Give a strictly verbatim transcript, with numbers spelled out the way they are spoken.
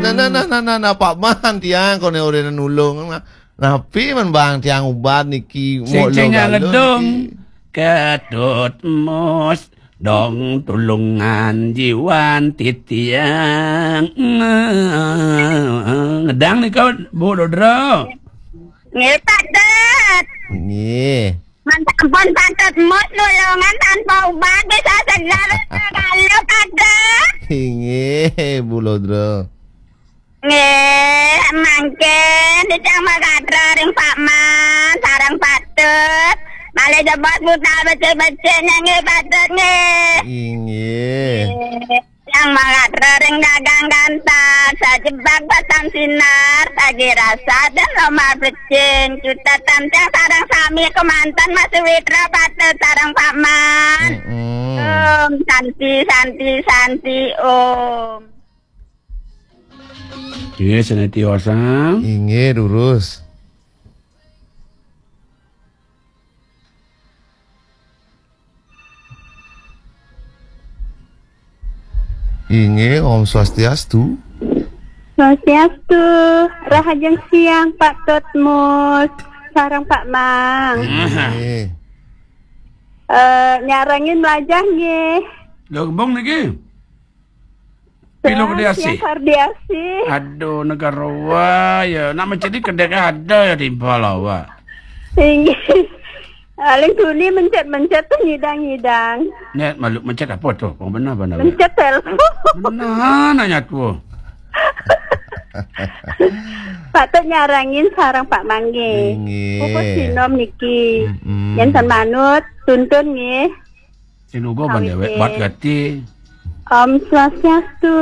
Nah, nah, nah, nah, nah, nah, Pak Man, tiang, kone ora nulung. Nah, napi men bang tiang ubat niki, sing mau ceng lo galuh ngedung niki. Ketut mus dong tulungan jiwan titiang. Ngedang nika, Bu Lodra. Nggih, Pak Dut. Nggih. Man ampun, Pak Dut, mus nulungan tanpa ubat bisa segar. Kalau Pak Dut. Inggih, Bu Lodra. Nggih, mangkin titiang magatra ring Pak Man sareng Pak Dut. Malih jebos budal becik-becik nggih, Pak Dut, nggih. Inggih. Nggih. Tiang magatra ring dagang ganteng, sajebag batang sinar, pagi rasa dan lomar becik. Cutetan tiang sareng sami kemanten Mas Witra, Pak Dut sareng Pak Man. Mm-mm. Om Santi, Santi, Santi, Om. Inggih, sanetiosa. Inggih, durus. Inggih, Om Swastiastu. Swastiastu. Rahajeng siang, Pak Dut Mus sareng Pak Mang. Inggih. Eh, nyarengin mlajah nggih. Lho, kembung niki. Pilu Kedai Asih? Tiang Kardiasih. Aduh, negara wa ya. Nak mencet di kedai ada ya di Balawa. Inggih. Paling tuni mencet-mencet tuh nyidang-nyidang. Net malu mencet apa tuh? Kok benar, benar. Mencet telepon. Benar nanya tuh. Pak Dut nyarengin sareng Pak Mang nggih. Inggih. Pupus sinom niki. Mm-mm. Yen ten manut, tuntun nggih. Sinugo ban dewek bat gati. Om Swastiastu.